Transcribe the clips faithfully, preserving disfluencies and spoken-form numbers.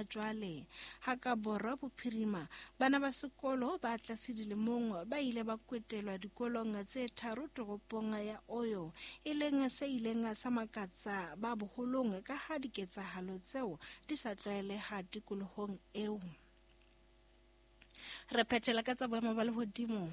jwale. Ha ka borwa bophirima, bana ba sekolo ba tlase dilemong ba ile ba kwetelwa dikolong tse tharo toropong ya Oyo, e leng se ileng sa makatsa ba boholong ka ha diketsahalo tseo di sa tlwaeleha tikolohong eo. Re phethela ka tsa boemo ba lehodimo.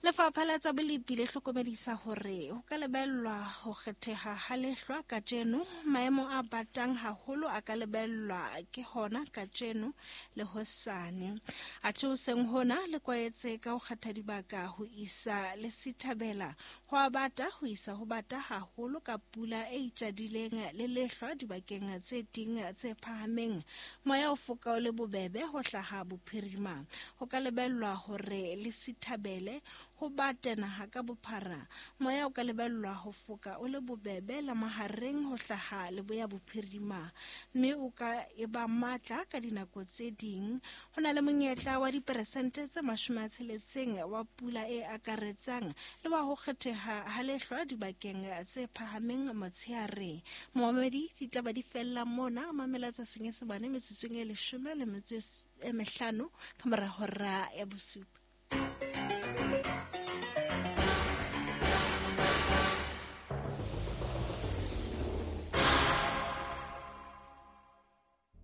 Lefapha la tsa bolepi le hlokomedisa hore ho ka lebellwa ho kgetheha ha lehlwa kajeno. Maemo a batang haholo a ka lebellwa ke hona kajeno le hosane. Athe hoseng hona le kwaetse ka ho kgetha dibaka ho isa le sithabela ho a bata ho isa ho bata haholo ka pula e itjadileng le lehlwa dibakeng tse ding tse phahameng. Moya o foka o le bobebe ho hlaha bophirima. Ho ka lebellwa hore le sithabele ho bate naha ka bophara. Moya o ka lebellwa ho foka o le bobebe la mahareng ho hlaha leboya bophirima, mme o ka eba matla ka dinako tse ding. Ho na le monyetla wa diperesente tse mashome a tsheletseng wa pula e akaretsang le wa ho kgetheha ha lehlwa dibakeng tse phahameng motshehare. Momamedi, ditaba di fella mona. Mamela tsa Senyesemane metsotsong e leshome le metso e mehlano ka mora hora ya bosupa.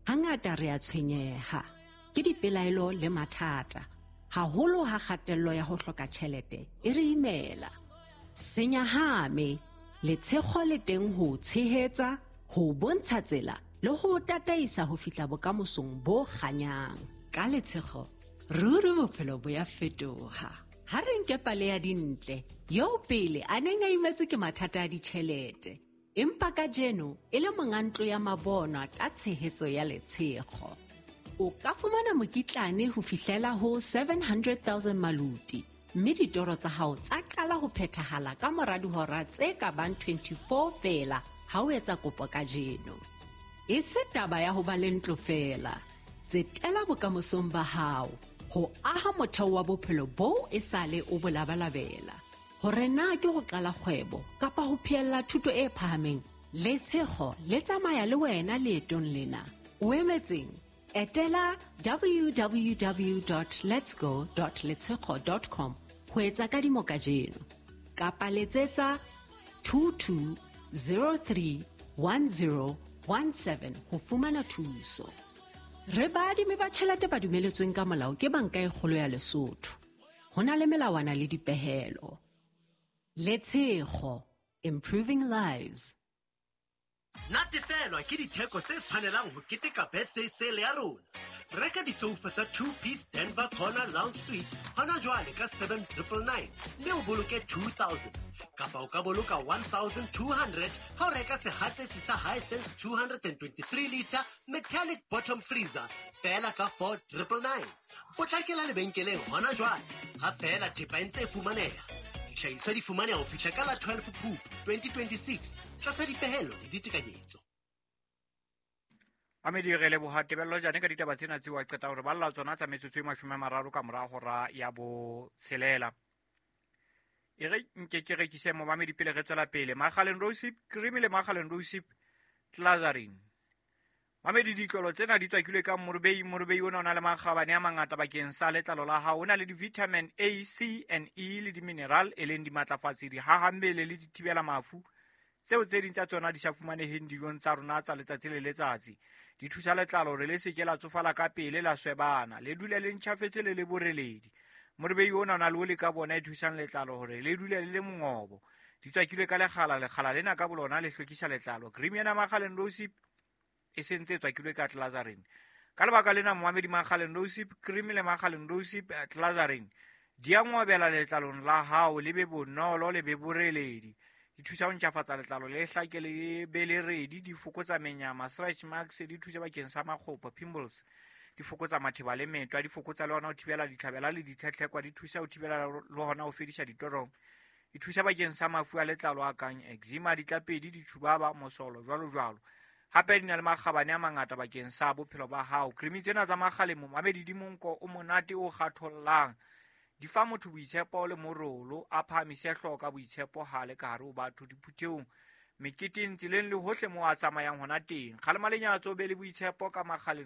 Hangata re a tshwenyeha ke dipelaelo le mathata, haholo ha kgatello ya ho hloka tjhelete e re imela. Senyahame, letshego le teng ho tshehetsa, ho bontsha tsela le ho tataisa ho fihla bokamosong bo kganyang. Ka letshego, ruri bophelo bo ya fetoha. Ha re nke pale ya Dintle, eo pele a neng a imetswe ke mathata a ditjhelete, empa kajeno e le monga ntlo ya mabonwa ka tshehetso ya letshego. O ka fumana mokitlane ho fihlela ho seven hundred thousand maluti, mme ditoro tsa hao tsa qala ho phethahala ka mora dihora tse ka bang twenty-four feela ha o etsa kopo kajeno. E se taba ya ho ba le ntlo feela, tsetela bokamosong ba hao ho aha motheo wa bophelo boo esale o bo labalabela. Hore na ke ho qala kgwebo kapa ho phehella thuto e phahameng, letshego le tsamaya le wena leetong lena. O emetseng? Etela w w w dot letsgo dot letshego dot com ho etsa kadimo kajeno, kapa letsetsa two two zero three one zero one seven ho fumana thuso. Re baadimi ba tjhelete ba dumeletsweng ka molao ke Banka e Kgolo ya Lesotho. Ho na le melawana le dipehelo. Letshego, improving lives. Natefelwa ke ditheko tse tshwanelang ho keteka birthday sale ya rona. Reka disofa tsa two-piece Denver Corner Lounge Suite hona jwale ka seven triple nine mme o boloke two thousand. Kapa o ka boloka one thousand two hundred ha o reka sehatsetsi sa Hisense two hundred and twenty-three liter metallic bottom freezer feela ka four triple nine. Potlakela lebenkeleng hona jwale ha feela thepa e ntse e fumaneha. Dihlahiswa di fumaneha ho fihla ka la twelve Phupu twenty twenty-six tlasa dipehelo le ditekanyetso. Mamedi, re leboha Tebello Jane ka ditaba tsena tseo a qeta hore balla tsona tsa metsotso e mashome a mararo ka mora hora ya botshelela. E re nke ke rekise momamedi pele re tswela pele. Makgaleng Rosip Cream le Makgaleng Rosip Glazarin. Mamedi, ditlolo tsena di tswakilwe ka morobei. Morobei ona o na le makgabane a mangata bakeng sa letlalo la hao. O na le di-vitamin A, C and E le di-mineral e leng dimatlafatsi, dihahammele le dithibela mafu tseo tse ding tsa tsona di sa fumaneheng dijong tsa rona tsa letsatsi le letsatsi. Di thusa letlalo hore le se ke la tsofala ka pele, la swebana, le dule le ntjhafetse le le boreledi. Morobei ona o na le oli ka bona e thusang letlalo hore le dule le le mongobo. Di tswakilwe ka lekgala, lekgala lena ka bolona le hlwekisa letlalo. Cream ena Makgaleng Rosip e sentse e tswakilwe ka Glazarin. Ka lebaka lena momamedi, Makgaleng Rosip Cream le Makgaleng Rosip Glazarin di a ngobela letlalong la hao, le be bonolo, le be boreledi. Di thusa ho ntjhafatsa letlalo le hlake le be le redi, di fokotsa menyama, stretch marks, di thusa bakeng sa makgopo, pimples, di fokotsa matheba le metwa, di fokotsa le hona ho thibela ditlhabela le ditlhetlhekwa, di thusa ho thibela le hona ho fedisa ditorong, di thusa bakeng sa mafu a letlalo a kang eczema, ditlapedi, ditjhubaba, mosolo, jwalo jwalo. Hape di na le makgabane a mangata bakeng sa bophelo ba hao. Cream tsena tsa Makgaleng momamedi di monko o monate o kgathollang. Di fa motho boitshepo le morolo, a phahamise hlooho ka boitshepo ha le ka hare ho batho, diphuthehong, meketeng, tseleng le hohle moo a tsamayang hona teng. Kgalema lenyatso, be le boitshepo ka Makgaleng.